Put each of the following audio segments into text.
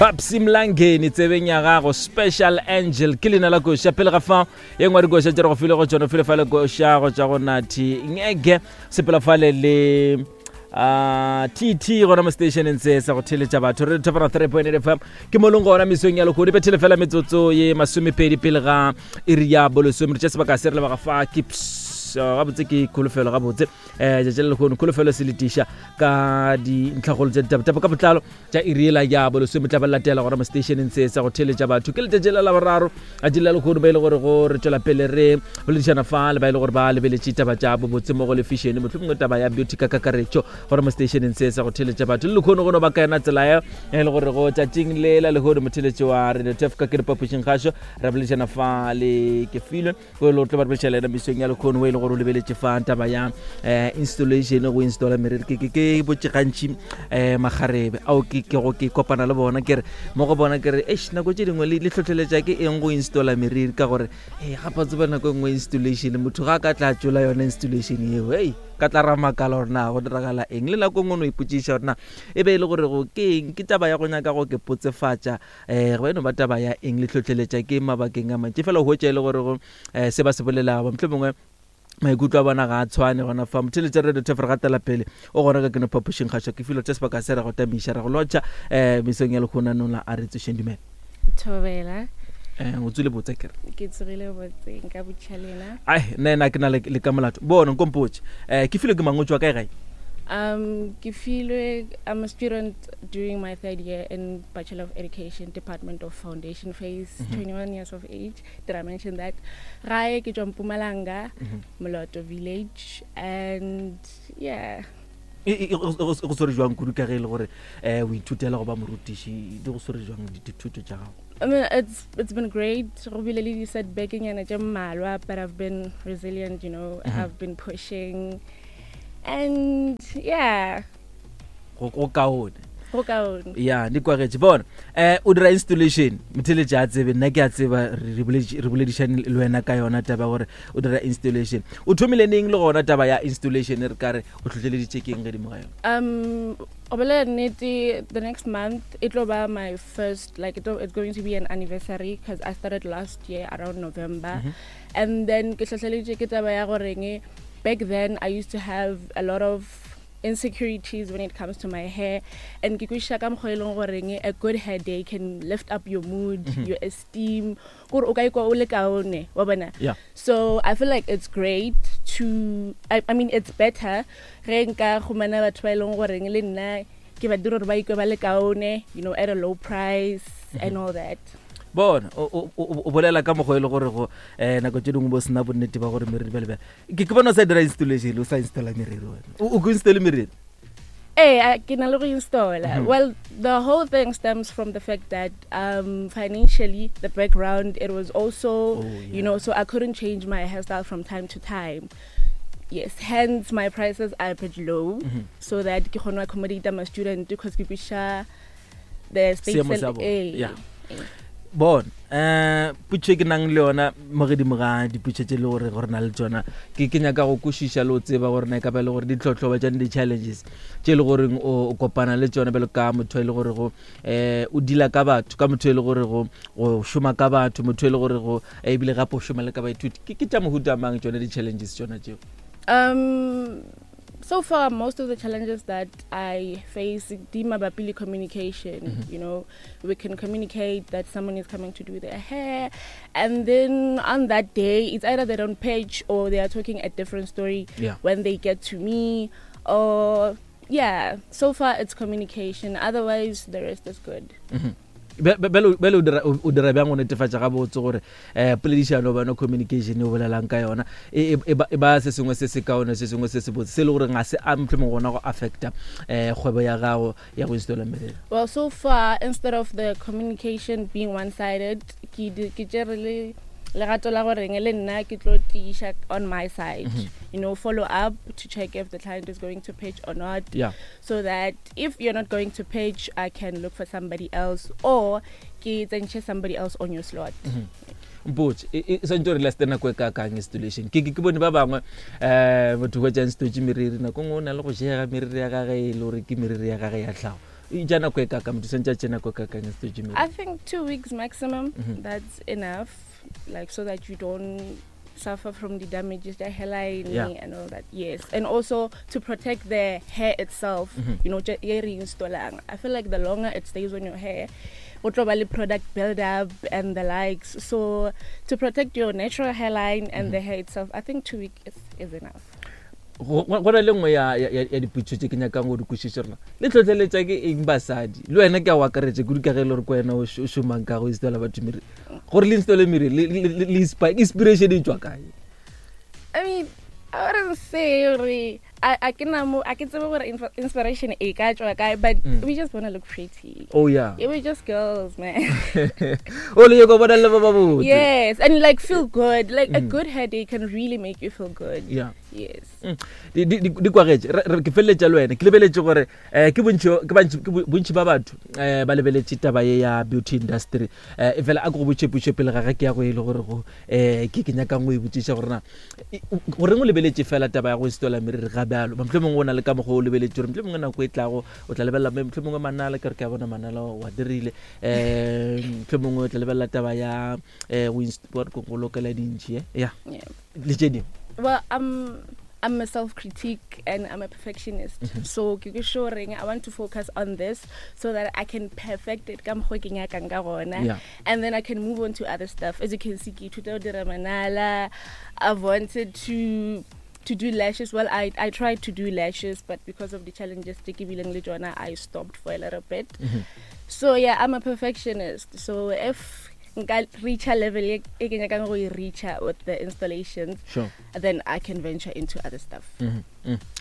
Babsy Mlangeni tsebeng ya gago Special Angel ke leina la koša pele ga fa ye nngwe dikoša tše re go file go tšona file fa le koša go tšwa go Nathi Ngege sepela fale le uh, TT gona mo stationeng se sa go theletša batho re thopana 3.8 FM ke mo leng gona mesong ya lekgodu bethele fela metsotso ye masomepedi pele ga iri ya bolesome re tše sebaka se re lebaga fa ke gabotse ke kholofelo gabotse um tšatši la lekgono kholofelo se letiša ka dintlhagolo tša ditaba ka botlalo tša iri yela ya bolesome tla ba latela gona mo stationeng se sa go theletša batho ke letšatši la laboraro a tši la lekgono ba e le gore go re tšwela pele re boledišana fa le ba e le gore ba lebeletše taba tša bobotse mo go lefišene mohlomongwe taba ya beauty ka kakaretšo gona mo stationeng se sa go theletša batho le lekgono go no ba ka yona tsela ya e le gore go tšatšing le la lehono motheletši wa radio tef ka ke dipaphušing kgašo re boledišana fa le kefilwe o e le tlo ba re le ena mesong ya lekgono o e le gore o lebeletše fa taba ya um installation go installa meriri ke ke botše gantši um eh, magarebe ao ke ke go ke kopana le bona ke re mo go bona ke re eish nako tše dingwe le tlhotlheletša ke eng go installa meriri ka gore e gapa tseba nako e nngwe installation motho ga a ka tla tšola yona installation eo ei ka tla ra makala gore na go diragala eng le nako e nngwe no ipotšiša gore na e be e le gore go ke eng ke taba ya go nyaka go ke potsefatša um go eno ba taba ya eng le hlohleletša ke mabakeng a mantši fela o hwetša e le gore go um se ba se bolelago mohlho mongwe maikutlo a bona ga a tshwane gona fa motheletša radio tef re gatela pele o gona ka keno phapošing kgašo ke filo tša sebaka se ra go tamiša ra go lotšha um mesong ya lekgona nola a re tsošeng dumela thobela um o tswile botse kere ke tsogile botse nka botšha lena ai nna ena ke na le ka molato bona nkompotše um ke filo ke mangotšwa kae gae Um, ke filwe, I'm a student doing my third year in Bachelor of Education, Department of Foundation Phase, mm -hmm. 21 years of age. Did I mention that? Gae ke tswa Mpumalanga, mm -hmm. Moloto Village, and yeah. E, e, go swere jwang kudu ka ge e le gore um o ithutela go ba morutiši di go swere jwang dithuto tša gago I mean, it's it's been great. Go bile le di-setback nyana tše mmalwa, but I've been resilient, you know. Mm -hmm. I've been pushing. And yeah. Go kaone. Go kaone. Ya, di kwagetše. Bona, eh o dira installation, motheletši a tsebe, nna ke a tseba re boledišane le wena ka yona taba gore o dira installation. O thomile neng le gona taba ya installation re ka re o hlohleleditše keng gedimo ga yona? Um, go bolela nnete, the next month it tlo ba my first like it, it's going to be an anniversary because I started last year around November. Mm -hmm. And then ke hlohleleditše ke taba ya goreng back then I used to have a lot of insecurities when it comes to my hair and ke kwešiša ka mokgwa e leng goreng a good hair day can lift up your mood mm -hmm. your esteem gore o ka ikwa o le kaone wa bona yeah. so i feel like it's great to I, I mean it's better ge nka gomana batho ba e leng goreng le nna ke ba dira gore ba ikwe ba le kaone you know at a low price mm -hmm. and all that bona o bolela ka mokgwa e le gore go um nako tse dingwe bo sena bonnete ba gore meriri bjale bjale ke ke bona o sa dira installation o sa installa meriri wena o ko installe meriri Ee, ke na le go installa. Mm -hmm. Well, the whole thing stems from the fact that um, financially, the background, it was also, oh, yeah. you know, so I couldn't change my hairstyle from time to time. Yes, hence my prices are a bit low mm -hmm. so that ke kgone accommodate my student because ke kwisha the state Seemo sa bona. Yeah. Bona, eh putšo e ke nang le yona mo godimo ga diputšo tše le gore gore na le tsona ke ke nyaka go kwešiša le go tseba gore na e ka ba e le gore ditlhohlo ba tšone di-challenges tše e le goreng o kopana le tsona bjalo ka motho e le gore go um o deala ka batho ka motho e le gore go go šoma ka batho motho e le gore go ebile gape o šoma le ka baithuti ke ke tša mohuta mang tsone di-challenges tsona tšeo um so far most of the challenges that i face di mabapi le communication mm -hmm. you know we can communicate that someone is coming to do their hair and then on that day it's either they don't pitch or they are talking a different story yeah. when they get to me or yeah so far it's communication otherwise the rest is good mm -hmm. Bjale o dira bjang go netefatša gabotse gore um poledišano bana communication e o bolelang ka yona e, e, e, e ba se sengwe se se kaone se sengwe se se botse se e le gore ga se a mohlomong gona go affecta um kgwebo ya gago ya go installa merero well so far instead of the communication being one sided ke tšere le legato la goreng le nna ke tlo tiiša on my side mm -hmm. you know follow up to check if the client is going to pitch or not yeah. so that if you're not going to pitch i can look for somebody else or ke tsentšhe somebody else on your slot mm -hmm. mpotse e, e swantse gore laste nako e ka kang installation ke ke bone ba bangwe um motho hwetša nstotse meriri nako nngwe o na le go jega meriri ya gage e le gore ke meriri ya gage ya tlhago. E ja nako e kaka motho santse a tše nako e kakang a setse I think 2 weeks maximum. That's enough, like, so that you don't suffer from the damages, the hairline and all that. Yes, and also to protect the hair itself. Ye re installang. I feel like the longer it stays on your hair, go tlo ba le product build up and the likes. So to protect your natural hairline and the hair itself, I think 2 weeks is enough. Go na le nngwe ya dipotso tse ke nyakang go di kwešiša rona le tlhotlheletša ke eng basadi le wena ke a o akaretša kudu ka ge e le gore ke wena o šomang ka go installa batho meriri gore le installe meriri le inspiration e tswa kae? I mean, I wouldn't say gore a ke na mo a ke tsebe gore inspiration e ka tswa kae, but we just want to look pretty. Yeah, we're just girls, man. O le nyako bona le ba ba botse. Yes, and like feel good. Like a good hair day can really make you feel good. Yes. Di kwagetše. Ke feleletša le wena ke lebeletše gore um ke bontši ke bantši- ke bontši ba batho um ba lebeletše taba ye ya beauty industry um e fela a ke go botše potšo pele ga ge ke ya go e le gore go um ke nyakang go e botšiša gore na goreng o lebeletše fela taba ya go installa meriri ga bjalo. Mohlho mongwe o na le ka mokgwa o lebeletše gore mohlho mongwe nako e tlago o tla lebelela mohlho mongwe manala ke re ke a bona manala wa dirile um mohlho mongwe o tla lebelela taba ya um go lokela dintšhi eh? Ya le tše dingwe. Well, I'm a self-critique and I'm a perfectionist. So ke ke sure reng I want to focus on this so that I can perfect it ka mokgwa ke nyakang ka gona. And then I can move on to other stuff. As you can see, ke ithuta go dira manala. I've wanted to do lashes. Well, I tried to do lashes, but because of the challenges tse ke bileng le tsona, I stopped for a little bit. So yeah, I'm a perfectionist. So if nka reach a level e ke nyakang go e reacha with the installations, then I can venture into other stuff.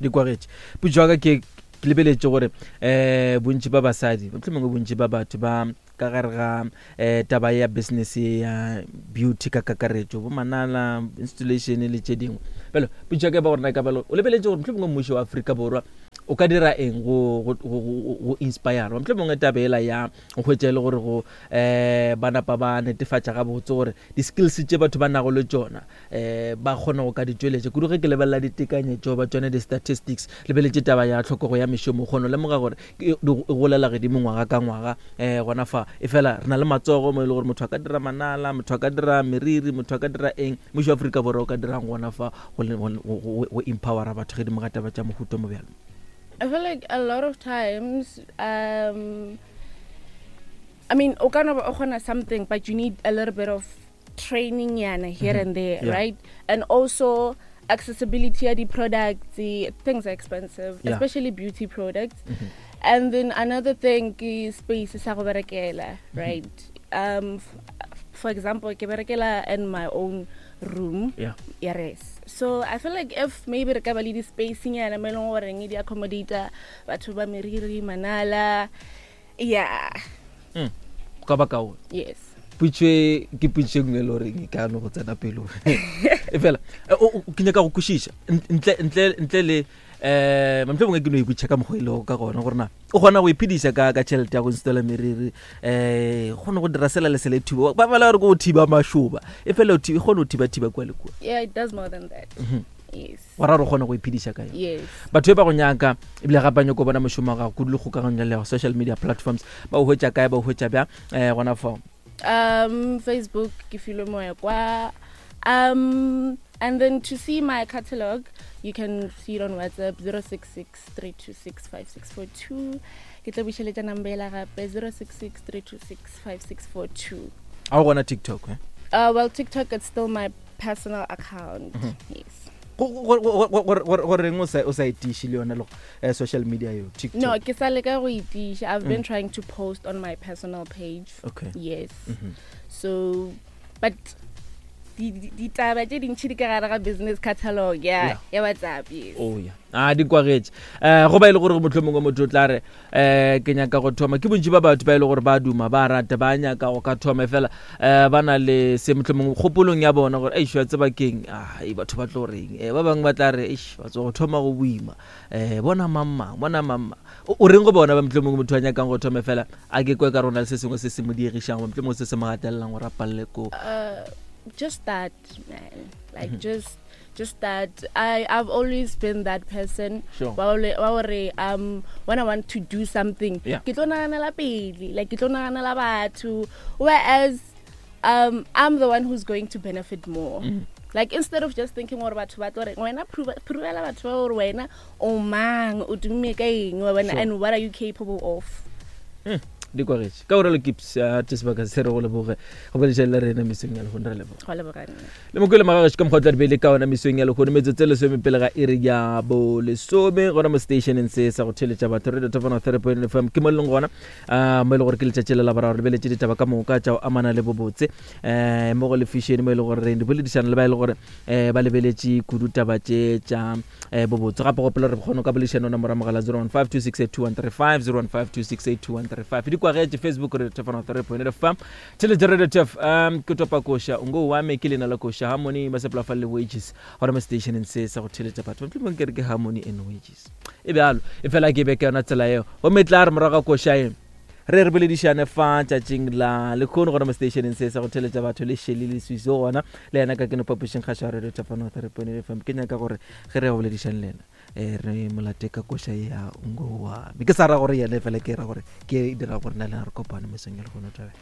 Di kwagetše potso ya ka. Ke lebeletše gore um bontši ba basadi, mohlomongwe bontši ba batho ba ka gare ga um taba ya business ya beauty ka kakaretšo, bo manala, installation le tše dingwe bjalo, potso ya ka e ba gore na ka bjalo o lebeletše gore mohlomongwe mmušo wa Afrika Borwa o ka dira eng go inspire mohlomongwe taba ela ya go hwetša e le gore go um ba napa ba netefatša gabotse gore di-skills tše batho ba nago le tšona um ba kgona go ka di tšweletša kudu. Ge ke lebelela ditekanyetšo ba tšone, di-statistics, lebeletše taba ya tlhokego ya mešomo, kgona go lemoga gore e golela gedimo ngwaga ka ngwaga um gona fa e fela re na le matsogo mo e le gore motho a ka dira manala, motho a ka dira meriri, motho a ka dira eng. Mmušo wa Aforika Borwa o ka dirang gona fa go empowera batho gedimo ga taba tša mohuta mo bjalo? I feel like a lot of times, I mean, o ka no ba o kgona something, but you need a little bit of training yana here and there, right? And also accessibility of the products, the things are expensive, especially beauty products. And then another thing is space sa go berekela, right? For example, ke berekela in my own room. Yes. So I feel like if maybe re ka ba le di-space nyana mo e leng goreng di accommodata batho ba meriri, manala, yeah. Go ka ba kaone. Yes. Potso e ke potso e nngwe e le goreng e ka no go tsena pelong e fela ke nyaka go kwešiša ntle le um mohlomongwe mongwe ke no ipotšiša ka mokgwa e lego ka gona gore na o kgona go iphediša ka tšhelete ya go installa meriri, um kgone go dira sela le sele thiba ba bala gore ke go thiba mašoba e fela e kgone go thiba-thiba kua le kua. Yeah, it does more than that. Yes. Gora re kgone go iphediša ka yona. Yes. Batho ba go nyaka ebile gape ba nyako bona mošomo wa gago kudu le kgokagano le social media platforms, ba o hwetša kae, ba o hwetša bjang um gona fao? Facebook ke Filwe Moekwa. And then to see my catalog, you can see it on WhatsApp 066 326 5642. Ke tla bušeletša number ela gape, 066 326 5642. A o gona TikTok, eh? Well, TikTok, it's still my personal account. Yes. Goreng o sa e tiše le yona le social media yo, TikTok? No, ke sa leka go itiša. I've been trying to post on my personal page. Yes. So, but ditaba tše dintšhi di ka gare ga business catalog ya WhatsApp, yes. Oh yeah, a di kwagetše um go ba e le gore motlho mongwe motho o tla re um ke nyaka go thoma. Ke bontši ba batho ba e le gore ba duma, ba rata, ba nyaka go ka thoma, fela um ba na le se motlho mongwe kgopolong ya bona gore eish, wa tseba keng, ai, batho ba tlo reng um ba bangwe ba tla re eish, ba tso go thoma go boima um bona mang mang, bona mang mang. O reng go bona ba motlho mongwe motho a nyakang go thoma, fela a ke kwe ka rona le se sengwe se se mo diegišang goba motlho mongwe se se mo gatelelang gore a palele ko? Just start, man. Like just Just start. I've always been that person. Sure. Wa gore when I want to do something, ke tlo naganela pele, like ke tlo naganela batho. Whereas I'm the one who's going to benefit more. Like instead of just thinking gore batho ba tlo reng, wena provela batho ba gore wena o mang, o tumme ka eng, wa bona, and what are you capable of? Di kwagetše ka gore le kips te sebaka se re go leboge go bolediša le rena mesong ya lehono, re leboga. Go leboga nna. Le mokwele magagešo ka mokgwa o tla di beile ka ona mesong ya lehono, metsotso e lesome pele ga iri ya bolesome gona mo stationeng se sa go theletša batho Radio Top 103.1 FM ke mo e leng gona, mo e le gore ke letšatši le la boraro re beletše ditaba ka moka tša go amana le bobotse, mo go lefišene mo e le gore re di boledišana le ba e le gore, ba lebeletše kudu taba tše tša, bobotse. Gape gopola re kgone ka boledišana ona morago mogala 015 268 2135, 015 268 2135. Di kwagetše Facebook Radio Top 103.1 FM, theletše Radio Top. Ke topa koša ngo wa me ke lena la koša Harmony ba sepela fa le Wages gona mo stationeng se sa go theletša batho. Mohlomong ke re ke Harmony and Wages e bjalo, e fela ke be ke yona tsela eo. Gomme tla re morago ga koša e re re boledišane fa tšatšing la lekgono gona mo stationeng se sa go theletša batho le Shelly le Swiso gona le yena ka keno phapošing kgašo ya Radio Top 103.1 FM. Ke nyaka gore ge re ya go boledišane le yena, re molate ka koša ya ngo wa me. Ke sa ra gore yena, fela ke ra gore ke dira gore nna le yena re kopane mesong ya lehono. Thabela.